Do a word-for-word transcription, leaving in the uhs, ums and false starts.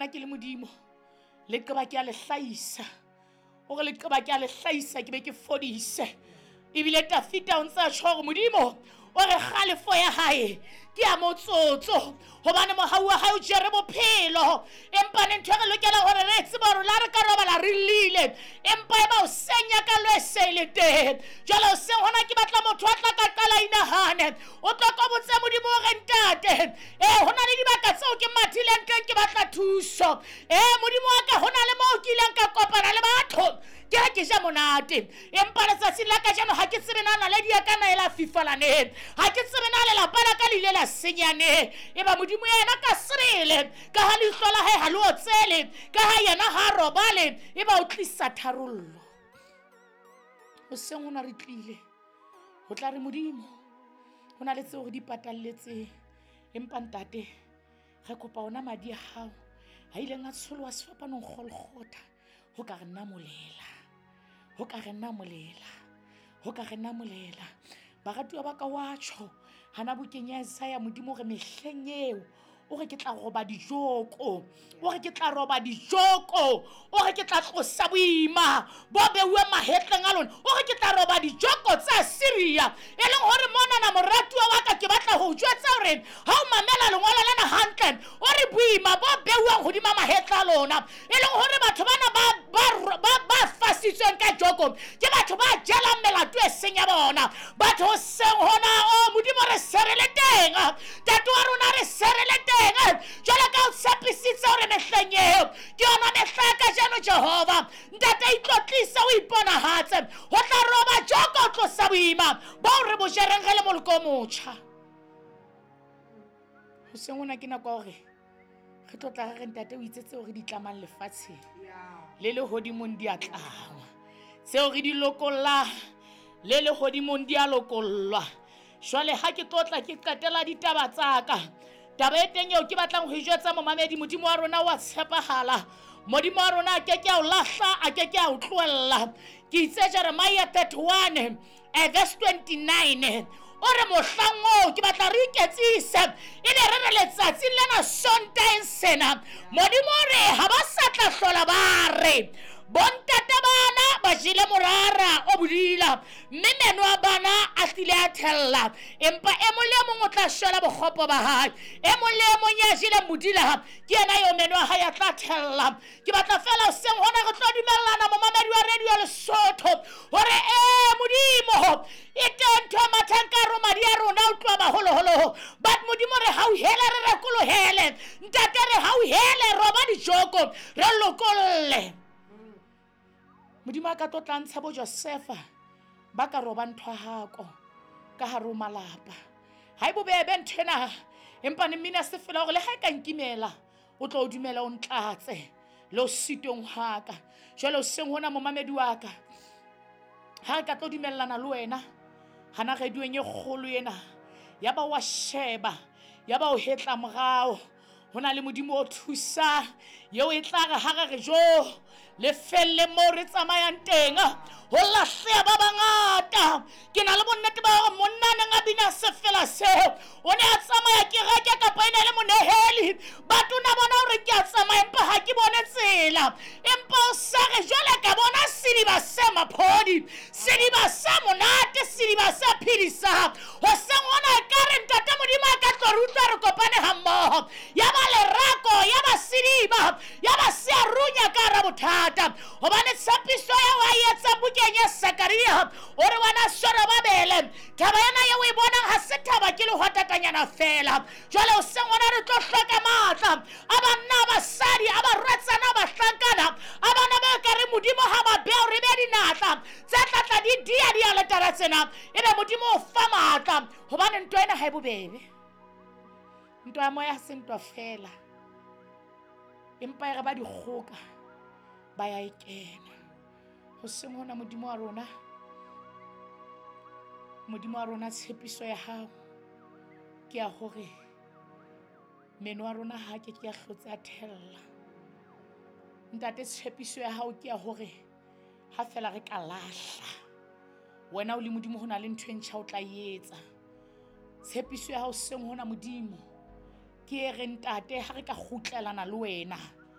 Nna ke le Modimo, leqeba ke a le hlahisa. O re leqeba ke a le hlahisa ke be ke fodise. Ebile Tafita o ntse a tjho hore Modimo o re kgalefo ya hae ke ya motsotso, hobane mohau wa hae o jere bophelo. Empa ne ntho e re lokelang hore re tsebe hore la re ka robala re llile, empa e ba hoseng ya ka e se le teng. Jwale hoseng hona ke batla motho a tla ka qala inahane, o tlo ko botse Modimo hore ntate, eh ho na le dibaka tseo ke mathileng teng ke batla thuso. Eh Modimo wa ka, ho na le moo ke ileng ka kopana le batho ke ha ke ja monate, empa letsatsing la kajeno ha ke tsebe na naledi ya ka na e la fifala ne, ha ke tsebe na lelapa la ka le ile la senya ne. Eba Modimo yena ka sebele, ka ha leihlo la hae ha le otsele, ka ha yena ha robale, eba o tlisa tharollo. Hoseng hona re tlile ho tla re Modimo, ho na le tseo re di patalletseng, empa ntate re kopa ona madi a hao a ileng a tsholoha sefapanong Golgotha, ho ka re namolela, ho ka re namolela, ho ka re namolela. Baratuwa ba ka, wa tjho hana bukeng ya Isaiah, Modimo re mehleng eo o re ke tla roba dijoko, o re ke tla roba dijoko, o re ke tla tlosa boima bo beuweng mahetleng a lona, o re ke tla roba dijoko tsa Syria. E leng hore monana moratuwa wa ka, ke batla ho jwetsa hore ha o mamela lengolo lena hantle, o re boima bo beuweng hodima mahetla a lona, e leng hore batho bana ba ba ba ba fasitsweng ka joko ke batho ba jelang melato e seng ya bona. Batho hoseng hona, o Modimo re serele teng, ntate wa rona re serele teng. Jwale ka o tshepisitse hore mehleng eo ke yona mehla ya kajeno, Jehova ntate itlotlise, o iponahatse, ho tla roba joko, o tlosa boima boo re bo jereng re le moloko o motjha. Hoseng hona ke nako ya hore re tlo tla re re ntate o itse tseo re di tlamang lefatsheng le lehodimong di a tlangwa, tseo re di lokollang le lehodimong di a lokollwa. Jwale ha ke tlo tla ke qetela ditaba tsa ka, taba e teng eo ke batlang ho e jwetsa momamedi, Modimo wa rona wa tshepahala, Modimo wa rona a ke ke a o lahla, a ke ke a o tlohella. Ke itse Jeremiah thirty-one verse twenty-nine, o re mohlang oo ke batla re iketsise, e be re re letsatsing lena Sontaheng sena, Modimo o re ha ba sa tla hlola ba re bontate bana ba jele morara o bodila, mme meno a bana a tlile a thella, empa e mong le e mong o tla shwela bokgopo ba hae, e mong le e mong ya jeleng bodila ke yena eo meno a hae a tla thella. Ke batla fela hoseng hona re tlo dumellana momamedi wa radio Lesotho hore ee Modimo e teng ntho e mathang ka hare ho madi a rona o tloha baholoholo, but Modimo re hauhele, re rekolohele ntate, re hauhele, roba dijoko, re lokolle. Modimo a ka tlo tla ntsha bo Josefa ba ka roba ntho hako ka hare ho malapa. Ha e bobebe ntho ena, empa ne mmina se fela hore le ha e ka nkimela o tlo o dumela o ntlatse le o sitong ha ka. Jwale hoseng hona momamedi wa ka, ha re ka tlo dumellana le wena hana radioeng e kgolo ena, ya ba wa sheba, ya ba o hetla morao, ho na le Modimo o thusang eo e tla re ha re re jo le felle moo re tsamayang teng, ho lahleha ba bangata. Ke na le bonnete ba hore monna a neng a bina sefela seo o ne a tsamaya kereke kapa e ne le moneheli, batho na bona hore ke a tsamaya empa ha ke bone tsela, empa o sa re jwale ka bona sediba se maphodi, sediba se monate, sediba se phedisang. Hoseng hona ekare ntate Modimo a ka tlo re utlwa re kopane hammoho, ya ba lerako, ya ba sediba, ya ba se a runya ka hara bothata. Hobane tshepiso ya wa etsa bukeng ya Sakaria, o re wena Zorobabele, taba ena eo o e bonang ha se thaba ke lehwatatanyana fela. Jwale hoseng hona re tlo hloka matla a banna, a basadi, a barwetsana, a bahlankana, a bana ba ka re Modimo ha ba bea hore be dinatla tse tlatla di dia dialetara tsena, ebe Modimo o fa matla. Hobane ntwa ena ha e bobebe, ntwa ya moya ha se ntwa fela, empa e re ba dikgoka ba ya e kena. Hoseng hona Modimo wa rona, Modimo wa rona, tshepiso ya hao ke ya hore meno a rona ha ke ke a hlotse a thella. Ntate, tshepiso ya hao ke ya hore ha fela re ka lahla wena o le Modimo, ho na le ntho e ntjha o tla etsa. Tshepiso ya hao seng hona Modimo ke e re ntate, ha re ka kgutlelana le wena